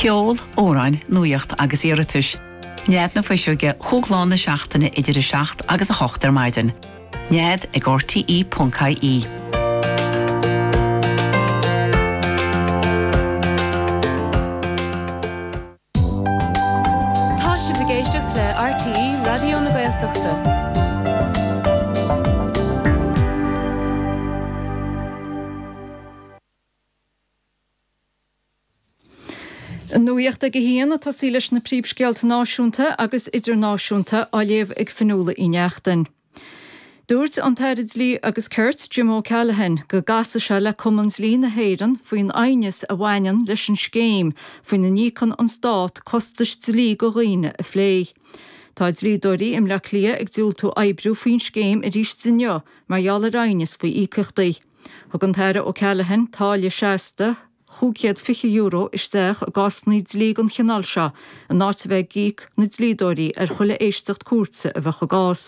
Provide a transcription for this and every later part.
Ceol, amhráin, nuaíocht agus iarratais. Nead na Fuiseoige chúig lá na seachtaine idir 7 agus 8 ar maidin. Nead ag rte.ie. Tá sibh ag éisteacht le RTÉ Raidió na Gaeltachta. An nuacht ag a haon ag tosaí leis na príomhscéalta náisiúnta agus idirnáisiúnta á léamh ag Fionnuala Uí Neachtain. Dúirt an tAire Dlí agus Cirt, Jim O'Callaghan, go gcasfaidh sé le Cumann Dlí na hÉireann faoin aighneas a bhaineann leis an scéim faoina n-íocann an Stát costais dlí go dhaoine a phlé. Tá dlíodóirí i mBleá Cliath ag diúltú oibriú faoin scéim arís inniu mar gheall ar aighneas faoi íocaíochtaí. Thug an tAire O'Callaghan táille seasta €520 isteach i gcásanna dlí den chineál seo in áit a bheith ag íoc na dlíodóirí ar chuile éisteacht cúirte a bheadh i gcás.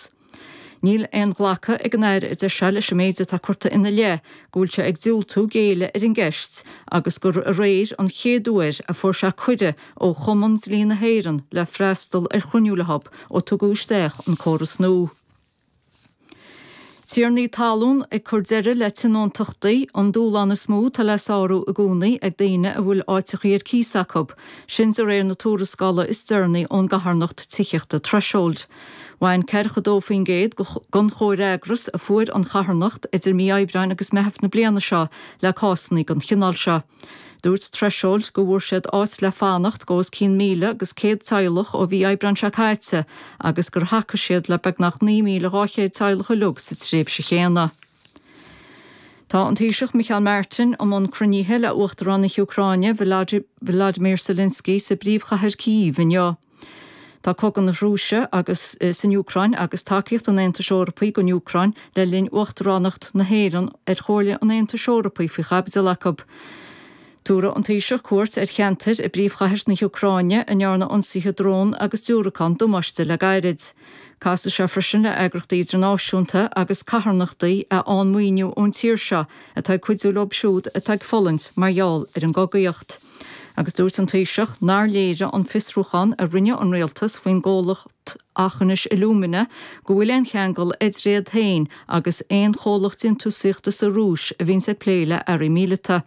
Níl aon ghlacadh ag an Aire a deir sé leis an méid atá curtha ina leith go bhfuil sé ag diúltú géilleadh ar an gceist agus gur aréir an chéad uair a fuair sé cuireadh ó Chumann Dlí na hÉireann le freastal ar chruinniú leo ó tugadh isteach an córas nua. Tiarnaí talún ag cur deireadh le tionóntachtaí, an dúshlán is mó atá le sárú i gcónaí ag daoine a bhfuil áiteachaí ar cíos acu, sin de réir na tuarascála is deireanaí ón gcarthanacht tithíochta Threshold. Bhain 42% den chomhfhreagras a fuair an charthanacht idir mí Aibreáin agus Meitheamh na bliana seo le cásanna den chineál seo. Dúirt Threshold go bhfuair siad áit le fanacht go os cionn 1,100 teaghlach ó mhí Aibreáin seo caite agus gur thacaigh siad le beagnach 9,200 teaghlach uilig sa tréimhse chéanna. Tá an Taoiseach Micheál Martin i mbun cruinnithe le Uachtarán na hÚcráine Volodymyr Zelensky sa bpríomhchathair Kyiv inniu. Tá cogadh na Rúise agus san Úcráin agus tacaíocht an Aontais Eorpaigh don Úcráin le linn uachtaránacht na hÉireann ar Chomhairle an Aontais Eorpaigh faoi chaibidil acu. Tabharfaidh an Taoiseach cuairt ar cheantair i bpríomhchathair na hÚcráine a ndearna ionsaithe drón agus diúracán damáiste le gairid. Casfaidh sé freisin le eagrachtaí idirnáisiúnta agus carthanachtaí a fhaigheann maoiniú ón tír seo atá ag cuidiú leo siúd atá ag fulaingt mar gheall ar an gcogaíocht. Agus dúirt an Taoiseach nár léirigh an fiosrúchán a rinne an Rialtas faoin gcomhlacht Aughinish Alumina go bhfuil aon cheangal idir iad féin agus aon chomhlacht déantúsaíochta sa Rúis a bhíonns ag plé le earraí míleata.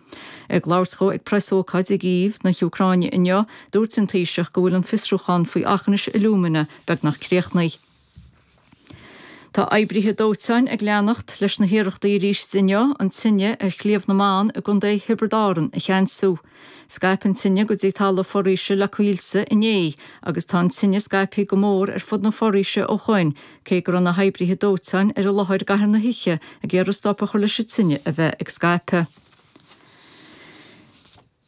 Ag labhairt dhó ag preasócáid i gCív na hÚcráine inniu, dúirt an Taoiseach go bhfuil an fiosrúchán faoi Aughinish Alumina beagnach críochnaithe. Tá oibrithe dóiteáin ag leanacht leis na hiarrachtaí arís inniu an tine ar Shliabh na mBan i gContae Thiobraid Árann a cheansú. Scaip an tine go dtí talamh foraoise le coillte inné agus tá an tine scaipthe go mór ar fud na foraoise ó shoin cé go raibh na hoibrithe dóiteáin ar an láthair i gcaitheamh na hoíche ag iarraidh stop a chur leis an tine a bheith ag scaipeadh.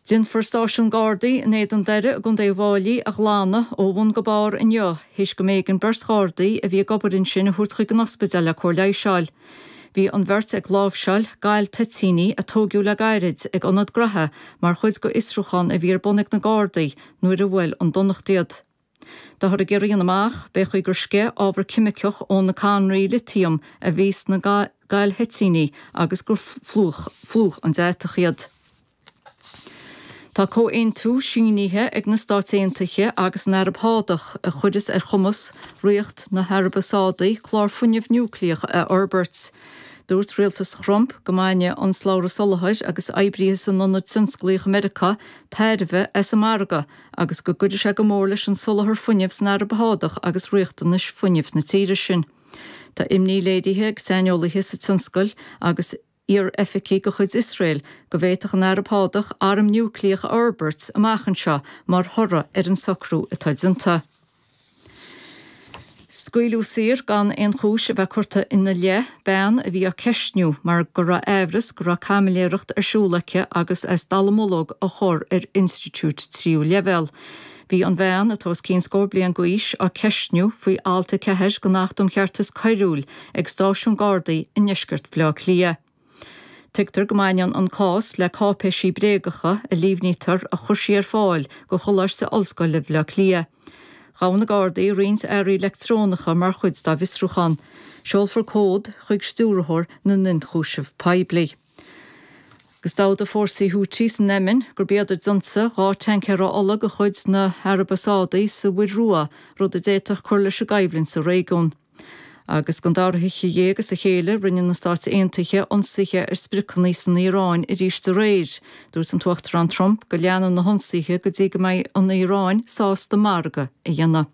Déanfar stáisiún Gardaí in Éadan Doire i gContae Uíbh Fháilí a ghlanadh ó bhun go barr inniu théis go mb'éigean beirt Ghardaí a bhí ag obair ansin a thabhairt chuig an ospidéal le cóir leighis a fháil. Bhí an bheirt ag láimhseáil gal toitíní a tóigeadh le gairid ag ionad graithe mar chuid de fhiosrúchán a bhí ar bun ag na Gardaí nuair a bhuail an donacht iad. Táthar ag iarraidh a dhéanamh amach b'é chaoi gur sceith ábhar ceimiceach ó na cadhnraí litiam a bhí sna galthoitíní agus gur phlúch an deatach iad. Tá comhaontú sínithe ag na Stáit Aontaithe agus an Araib Shádach a chuireas ar chumas Ríocht na hAraibe Sádaí clár fuinnimh núicléach a fhorbairt. Dúirt rialtas Thrump go mbainfidh an slabhra soláthair agus oibrithe san ionad tionsclaíoch i Meiriceá tairbhe as an margadh agus go gcuirfidh sé go mór leis an soláthar fuinnimh san Araib Shádach agus riachtanais fuinnimh na tíre sin. Tá imní léirithe ag saineolaithe sa tionscal agus iar-oifigigh de chuid Iosrael go bhféadfadh an Araib Shádach arm núicléach a fhorbairt amach anseo mar thoradh ar an socrú atá déanta. Scaoileadh saor gan aon chúis a bheith curtha ina leith bean a bhí á ceistniú mar go raibh aimhreas go raibh caimiléireacht ar siúl aici agus as dallamullóg a chur ar institiúid tríú leibhéal. Bhí an bhean, atá os cionn scór bliain d'aois, á ceistniú faoi alt 4 den Acht um Cheartas Coiriúil ag stáisiún Gardaí i ndeisceart Bhaile Átha Cliath. Tuigtear go mbaineann an cás le cáipéisí bréagacha a líomhnaítear a chuir sí ar fáil go Choláiste Ollscoile Bhaile Átha Cliath. Ghabh na Gardaí roinnt earraí leictreonacha mar chuid dá bhfiosrúchán. Seolfar comhad chuig Stiúrthóir na nIonchúiseamh Poiblí. Agus d'admhaigh fórsaí Houthi san Eimin gurb iad a d'ionsaigh 2 tancaer ola de chuid na hAraibe Sádaí sa Mhuir Rua, rud a d'fhéadfadh cur leis an gcoimhlint sa réigiún. Agus don dara hoíche dhéag as a chéile, rinne na Stáit Aontaithe ionsaithe ar spriocanna san Iaráin arís aréir. Dúirt an tUachtarán Trump go leanfaidh na hionsaithe go dtí go mbeidh an Iaráin sásta margadh a dhéanamh.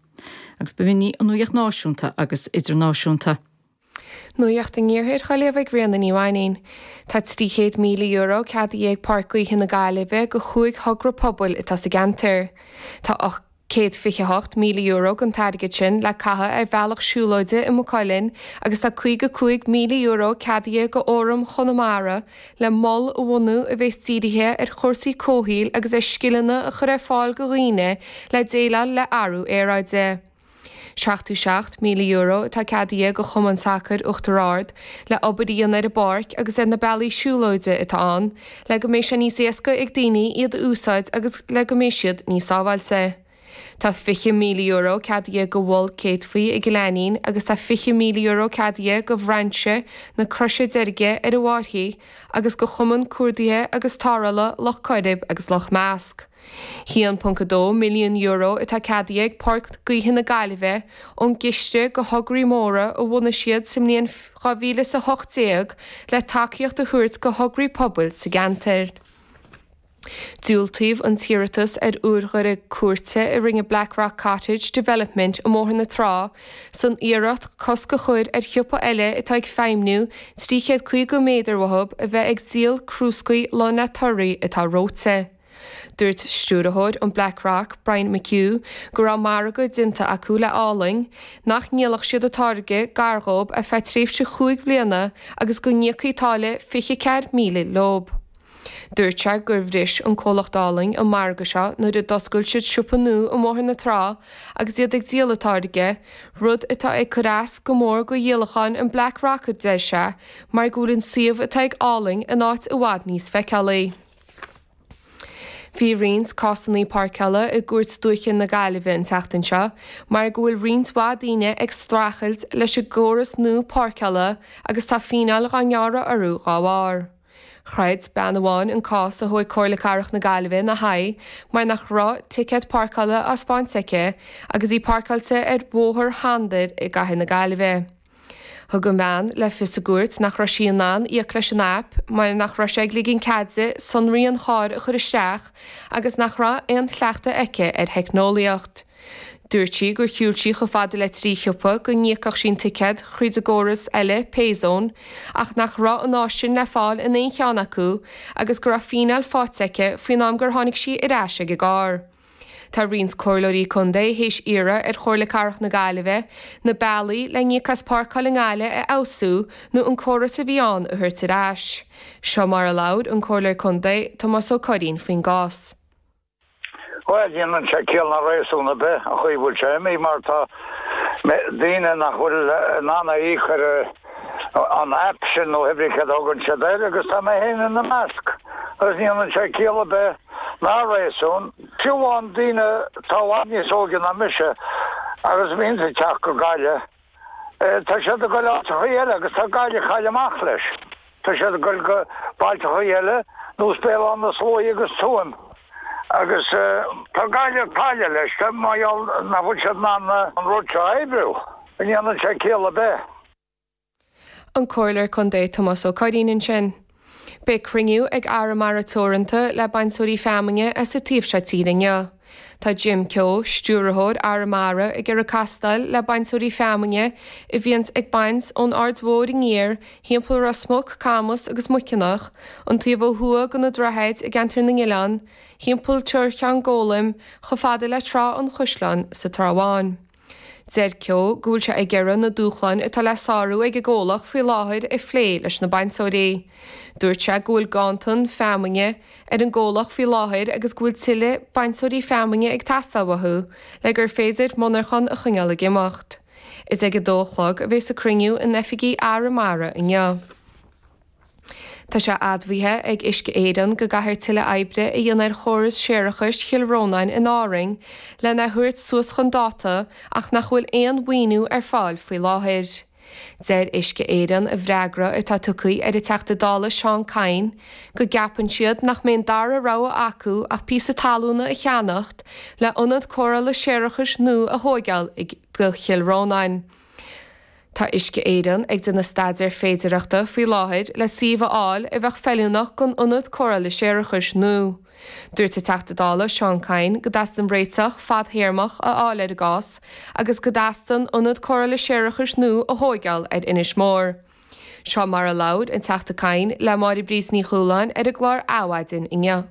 Agus b'in í an nuacht náisiúnta agus idirnáisiúnta. Nuacht an Iarthair á léamh ag Ríona Ní Mhainín. Tá €300,000 ceadaithe ag Páirc Gaoithe na Gaillimhe do chúig thogra pobail atá sa gceantar. Tá €128,000 den t-airgead sin le caitheamh ar bhealach siúlóide i Maigh Cuilinn agus tá €55,000 ceadaithe do Fhóram Chonamara le mol a bhunú a bheas dírithe ar chúrsaí comhshaoil agus ar scileanna a chur ar fáil do dhaoine le déileáil le athrú aeráide. €77,000 atá ceadaithe do Chumann Sacair Uachtar Ard le obair a dhéanamh ar an bpáirc agus ar na bealaí siúlóide atá ann le go mbeidh sé níos éasca ag daoine iad a úsáid agus le go mbeidh siad níos sábháilte. Tá €20,000 ceadaithe do Mhol Céadfaí i gCill Ainnín agus tá €20,000 ceadaithe do Bhrainse na Croise Deirge ar an bhFairche agus do Chumann Cuardaithe agus Tarrthála Loch Coirib agus Loch Measc. €1.2 milliún atá ceadaithe ag Páirc Gaoithe na Gaillimhe ón gCiste do Thograí Móra a bhunaigh siad sa mbliain 2018 le tacaíocht a thabhairt do thograí pobail sa gceantar. Diúltaíodh an t-iarratas ar urghaire cúirte a rinne Blackrock Cottage Development i mBóthar na Trá san iarracht cosc a chur ar shiopa eile atá ag feidhmniú 350 méadar uathu a bheith ag díol crúscaí lán le torthaí atá reoite. Dúirt stiúrthóir an Blackrock, Brian McHugh, go raibh margadh déanta acu le Álainn nach ndíolfadh siad a táirge gar dhób ar feadh tréimhse chúig bhliana agus go n-íocfaí táille 24,000 leob. Dúirt sé gur bhris an comhlacht Álainn an margadh seo nuair a d'oscail siad siopa nua i mBóthar na Trá agus iad ag díol a táirge, rud atá ag cur as go mór go dhíolacháin an Blackrock a deir sé mar go bhfuil an suíomh atá ag Álainn in áit i bhfad níos feiceálaí. Bhí roinnt cásanna páirceála i gCúirt Dúiche na Gaillimhe an tseachtain seo mar go bhfuil roinnt mhaith daoine ag streachailt leis an gcóras nua páirceála agus tá fíneáil dhá ngearradh orthu dhá bharr. Chreid bean amháin an cás a thóig Comhairle Cathrach na Gaillimhe ina haghaidh mar nach raibh ticéad páirceála á 'speáint aici agus í páirceáilte ar Bhóthar Shandair i gcathair na Gaillimhe. Thug an bhean le fios i gcúirt nach raibh sí in ann íoc leis an aip mar nach raibh sé ag ligean cead di sonraí an chairr a chur isteach agus nach raibh aon chleachtadh aici ar theicneolaíocht. Dúirt sí gur shiúil sí chomh fada le 3 shiopa go n-íocfadh sí an ticéad thríd an gcóras eile, Payzone, ach nach raibh an áis sin le fáil in aon cheann acu agus go raibh fíneáil faighte aici faoin am gur tháinig sí ar ais ag an gcarr. Tá roinnt comhairleoirí contae théis iarraidh ar Chomhairle Cathrach na Gaillimhe na bealaí le n-íoc as páirceáil i nGaillimh a fheabhsú nó an córas a bhí ann a thabhairt ar ais. Seo mar a labhair an Comhairleoir Contae, Tomás Ó Curraoin faoin gcás. Bhuel, ní dhéanann sé ciall ná réasún ar bith an chaoi a bhfuil sé imithe mar tá daoine nach bhfuil in ann a íoc ar an aip sin nó cibé céard a thugann siad air agus tá mé féin ina measc agus ní dhéanann sé ciall ar bith ná réasún. Fiú amháin daoine atá i bhfad níos óige ná mise agus a bhíonns ag teacht go Gaillimh, tá siad ag goil áiteachaí eile agus tá Gaillimh ag cailleadh amach leis. Tá siad ag goil go bailteachaí eile nós Béal Átha na Sluaighe agus Tuaim agus tá Gaillimh ag cailleadh leis mar gheall nach bhfuil siad in ann an rud seo a oibriú. Ní dhéanann sé ciall ar bith. An Comhairleoir Contae Tomás Ó Curraoin ansin. Beidh cruinniú ag Arramara Teoranta le bainteoirí feamainne as an taobh seo tíre inniu. Tá Jim Keogh, Stiúrthóir Arramara ag iarraidh castáil le bainteoirí feamainne a bhíonns ag baint ón Aird Mhóir aniar, thimpeall Ros Muc, Camas agus Muiceanach, an taobh ó thuaidh de na droichid i gceantar na nOileán, thimpeall Tuar Cheann Gólaim, chomh fada le Trá an Chaisleáin sa Trá Bháin. Deir Keogh go bhfuil sé ag iarraidh na dúshláin atá le sárú ag an gcomhlacht faoi láthair a phlé leis na bainteoirí. Dúirt sé go bhfuil ganntan feamainne ar an gcomhlacht faoi láthair agus go bhfuil tuilleadh bainteoirí feamainne ag teastáil uathu le gur féidir monarchan a choinneáil ag imeacht. Is ag a dó a chlog a bheas an cruinniú in oifigí Arramara inniu. Tá sé admhaithe ag Uisce Éireann go gcaithfear tuilleadh oibre a dhéanamh ar chóras séarachais Chill Rónáin in Árainn lena thabhairt suas chun dáta ach nach bhfuil aon mhaoiniú ar fáil faoi láthair. Deir Uisce Éireann i bhfreagra atá tugtha ar an Teachta Dála Seán Kyne go gceapann siad nach mbeidh an dara rogha acu ach píosa talúna a cheannacht le ionad cóireála séarachais nua a thóigeáil do Chill Rónáin. Tá Uisce Éireann ag déanamh staidéar féidearthachta faoi láthair le suíomh a fháil a bheadh feiliúnach don ionad cóireála séarachais nua. Dúirt an Teachta Dála Seán Kyne go dteastaíonn réiteach fadthéarmach a fháil ar an gcás agus go dteastaíonn ionad cóireála séarachais nua a thóigeáil ar Inis Mór. Seo mar a labhair an Teachta Kyne le Máire Bríd Ní Chualáin ar an gclár Adhmhaidin inniu.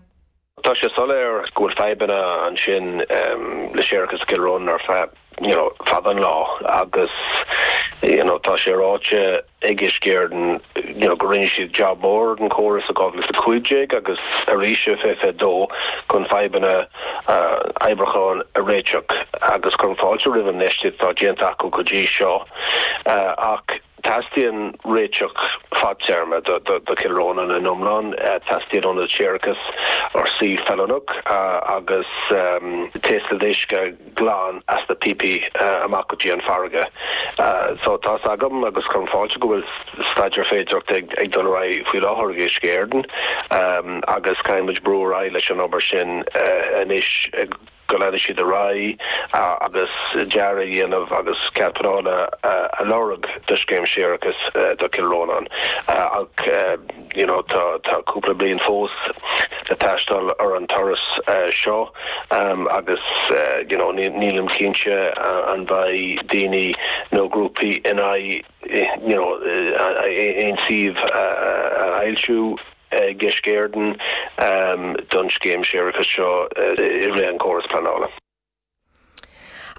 Tá sé soiléir go bhfuil fadhbanna ansin le séarachas i gCill Rónáin ar feadh you know fada an lá agus you know tá sé ráite ag Uisce Éireann you know go rinne siad jab mór den chóras i 2015 agus arís i 2022 chun fadhbanna oibriúcháin a réiteach agus cuirim fáilte roimh an infheistíocht atá déanta acu go dtí seo ach Teastaíonn réiteach fadtéarma do Chill Rónáin in iomlán. Teastaíonn ionad séarachais ar suíomh feiliúnach agus taoscadh uisce glan as na píopaí amach go dtí an farraige. So tá's agam agus cuirim fáilte go bhfuil staidéar féidearthachta ag dul ar aghaidh faoi láthair ag Uisce Éireann agus caithfidh muid brú ar aghaidh leis an obair sin anois. go leanfaidh siad ar aghaidh agus dearadh a dhéanamh agus cead pleanála a lorg do scéim séarachais do Chill Rónáin ach you know tá tá cúpla bliain fós le taisteal ar an turas seo agus you know nílim cinnte an mbeidh daoine nó grúpaí in aghaidh you know aon suíomh a fhoilsiú. ag Uisce Éireann don scéim séarachais seo i rith an chóras pleanála.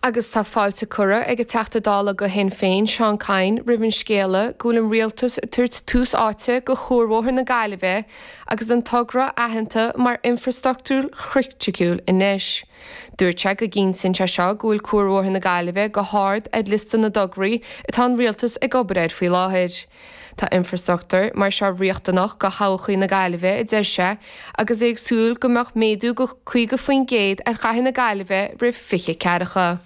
Agus tá fáilte curtha ag an Teachta Dála do Shinn Féin, Seán Kyne, roimh an scéala go bhfuil an Rialtas ag tabhairt tús áite do Chuarbhóthar na Gaillimhe agus an togra aitheanta mar infreastruchtúr chriticiúil anois. Dúirt sé go gcinntíonn sé seo go bhfuil Cuarbhóthar na Gaillimhe go hard ar liosta na dtograí atá an Rialtas ag obair air faoi láthair. Tá infreastruchtúr mar seo riachtanach do thodhchaí na Gaillimhe, a deir sé, agus é ag súil go mbeadh méadú go 50% ar chathair na Gaillimhe roimh 20 ceathracha.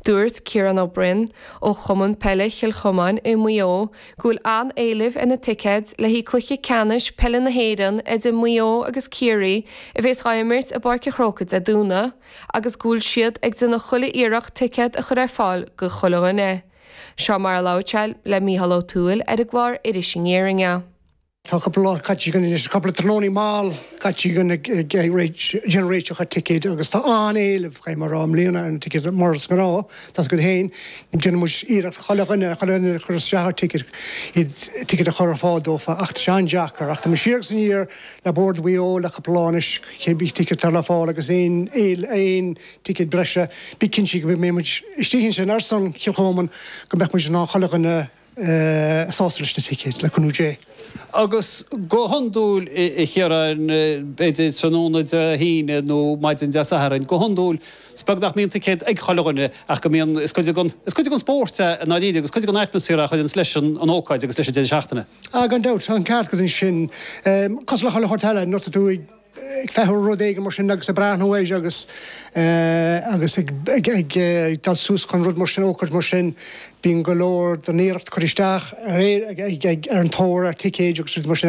Dúirt Ciarán Ó Broin ó Chumann Peile Chill Chomáin i Maigh Eo go bhfuil an-éileamh ar na ticéid le haghaidh cluiche ceannais peile na hÉireann idir Maigh Eo agus Ciarraí a bhéas á imirt i bPáirc an Chrócaigh Dé Domhnaigh agus go bhfuil siad ag déanamh chuile iarracht ticéad a chur ar fáil go chuile dhuine. Seo mar a labhair sé le Mícheál Ó Tuathail ar an gclár Iris Aniar inniu. Tá cúpla lá caite againn anois, cúpla tráthnónaí mall caite againn ag déanamh réiteach ar ticéid agus tá an-éileamh, caithfidh mé a rá, i mbliana ar na ticéid mar is gnáth, tá's agat féin, déanann muid iarracht chuile dhuine, chuile dhuine a chuir isteach ar ticéad, iad, ticéad a chur ar fáil dófa ach tá sé an-deacair ach tá muid siar agus aniar le Bord Mhaigh Eo le cúpla lá anois, cibé ticéad atá le fáil agus aon, aon ticéad breise, bí cinnte go mbeidh muid istigh ansin ar son Chill Chomáin go mbeadh muid in ann chuile dhuine a shásamh leis na ticéid, le cúnamh Dé. Agus go hiondúil, a Chiaráin, b'fhéidir tráthnóna Dé hAoine nó maidin Dé Sathairn, go hiondúil, is beag nach mbíonn ticéad ag chuile dhuine ach go mbíonn, is cuid den, is cuid den spórt é i ndáiríre agus cuid den atmaisféar é a chuireanns leis an ócáid agus leis an deireadh seachtaine. Ah, gan dabht, tá an ceart agat ansin. Cosúil le chuile shórt eile, nuair atá tú ag. ag feitheamh ar rud éigin mar sin agus ag breathnú air agus agus ag ag dul suas chun rud mar sin, ócáid mar sin, bíonn go leor den iarracht curtha isteach ar ag ag ar an tóir ar ticéid agus rudaí mar sin.